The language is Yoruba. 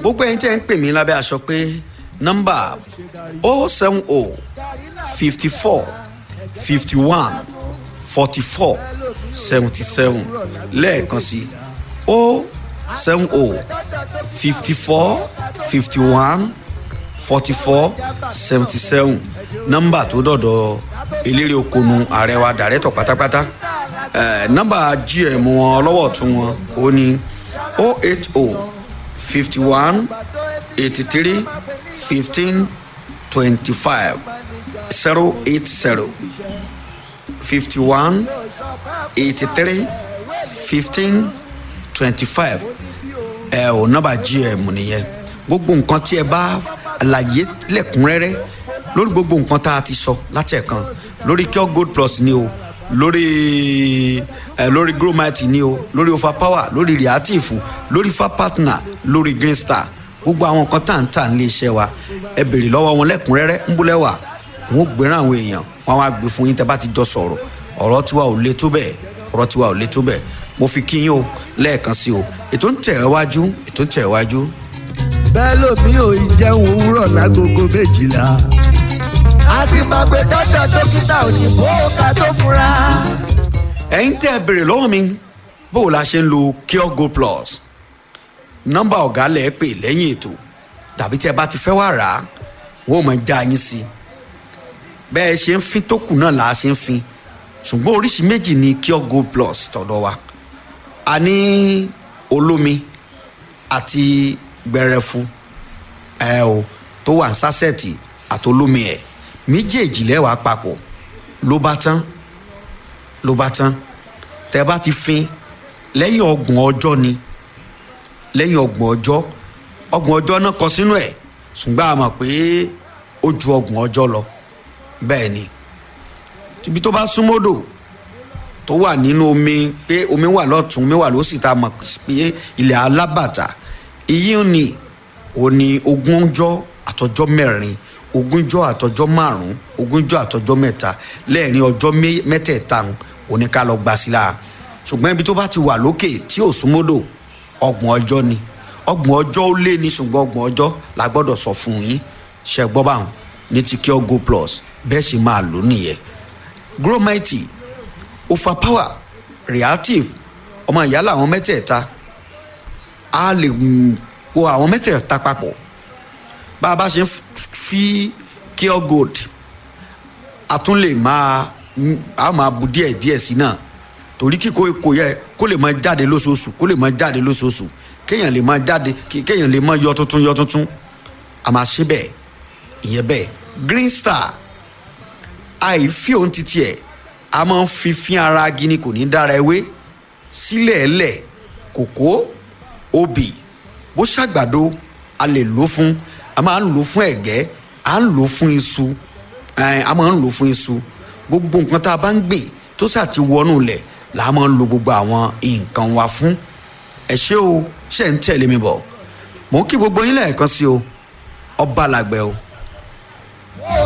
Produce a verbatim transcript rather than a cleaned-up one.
Gbogbo ẹ̀yin tẹ́ ń pè mí lábẹ́ aṣọ pé nọ́mbà oh seven oh fifty four fifty one forty four seventy seven lẹ́ẹ̀kan sí oh seven oh fifty four fifty one forty four seventy seven, nọ́mbà tó dọ̀dọ̀ eléré okonu ààrẹ wa dàrẹ́tọ̀ pátápátá. Eh, nọ́mbà G M wọn ọlọ́wọ́ tún wọn ó ní oh eight oh fifty one eighty three fifteen twenty five, zero eight zero fifty one eighty three fifteen twenty five. Ẹ ò nọ́mbà G M nìyẹn. Gbogbo nǹkan tí ẹ bá àlàyé lẹ́kùnrẹ́rẹ́ lórí gbogbo nǹkan tá a ti sọ láti ẹ̀kan lórí Cure Gold Plus ni o, lórí ẹ lórí Gromite ni o, lórí Overpower, lórí Reactive, lórí Fa Partner, lórí Green Star, gbogbo àwọn nǹkan tá à ń tà nílé iṣẹ́ wa, ẹ béèrè lọ́wọ́ wọn lẹ́kùnrẹ́rẹ́. Ń búlẹ̀ wà wọn ò gbéràn àwọn èèyàn wọn wá gbé fún yín tẹ́ bá ti jọ sọ̀rọ̀. Ọ̀rọ̀ tiwa ò le tó bẹ́ẹ̀, ọ̀rọ̀ tiwa ò le tó bẹ́ẹ̀. Mo fi kí yín o lẹ́ẹ̀kan sí o. Ètò ń tẹ̀ wájú, ètò ń tẹ̀ wájú. Bẹ́ẹ̀ lómi ò ì jẹun òwúrọ̀ lágogo méjìlá. A ti máa gbé dọ́dọ̀ dókítà òyìnbó ká tó fura. Ẹ̀yin tẹ́ ẹ béèrè lọ́wọ́ mi bó o la ṣe ń lo Cure Gold Plus, nọ́mbà ọ̀gá lẹ̀ pè lẹ́yìn ètò tàbí tí ẹ bá ti fẹ́ wá rà á, wọ́n ò mọ̀ já yín sí i. Bẹ́ẹ̀ ṣe ń fin tó kù náà là á ṣe ń fin, ṣùgbọ́n oríṣi méjì ni Cure Gold Plus tọ̀dọ̀ wa. A ní olómi àti gbẹrẹfu ẹ o tó wà ní sásẹ̀tì àtolómi ẹ̀ méjèèjì lẹ́wàá papọ̀ ló bá tán, ló bá tán. Tẹ́ bá ti fin lẹ́yìn ọgbọ̀n ọjọ́ ni, lẹ́yìn ọgbọ̀n ọjọ́, ọgbọ̀n ọjọ́ náà kọ sínú ẹ̀, ṣùgbọ́n a mọ̀ pé ó ju ọgbọ̀n ọjọ́ lọ. Bẹ́ẹ̀ ni ibi tó bá súnmọ́dò tó wà nínú omi, pé omi wà lọ́tún, omi wà lósì, tá a mọ̀ pé ilẹ̀ alábàtà iyí ni ò ní ogún ọjọ́ àtọjọ́ mẹ́rin, ogúnjọ́ àtọjọ́ márùn-ún, ogúnjọ́ àtọjọ́ mẹ́ta, lẹ́ẹ̀rin ọjọ́ mẹ́tẹ̀ẹ̀ta òní ká lọ gbà sí lára. Ṣùgbọ́n ibi tó bá ti wà lókè tí ò súnmọ́dò, ọgbọ̀n ọjọ́ ni, ọgbọ̀n ọjọ́ ó lé ní, ṣùgbọ́n ọgbọ̀n ọjọ́ la gbọ́dọ̀ sọ fún yín. Ṣe gbọ́ báwọn ní ti Cure Gold Plus bẹ́ẹ̀ sì máa lò nìyẹn. Gromite, Overpower, Reactive, ọmọ ìyá làwọn mẹ́tẹ̀ẹ̀ta. A lè kó àwọn mẹ́tẹ̀ẹ̀ta papọ̀. Bá a bá ṣe ń fi Cure Gold, a tún lè máa a máa bu díẹ̀ díẹ̀ sí náà, torí kíkó kò yẹ kó lè máa jáde lóṣooṣù, kó lè máa jáde lóṣooṣù, kéèyàn lè máa jáde, kéèyàn lè máa yọ tuntun, yọ tuntun. A máa ṣe bẹ́ẹ̀ ìyẹn bẹ́ẹ̀. Green Star, àìfi òun ti tiẹ̀, a máa ń fi fín ara gini, kò ní dára ewé sílẹ̀ ẹlẹ̀, kòkó, obì, bó ṣàgbàdo a lè lò fún, a máa ń lò fún ẹ̀gẹ́, a ń lò fún iṣu, a máa ń lò fún iṣu. Gbogbo nǹkan tá a bá ń gbìn tó ṣáà ti wọnú ilẹ̀ là á máa ń lo gbogbo àwọn nǹkan wa fún. Ẹ ṣé o, ṣe ń tẹ̀lé mi bọ̀? Mò ń kí gbogbo yín lẹ́ẹ̀kan sí o. Ọba làgbẹ̀ o. Ó ká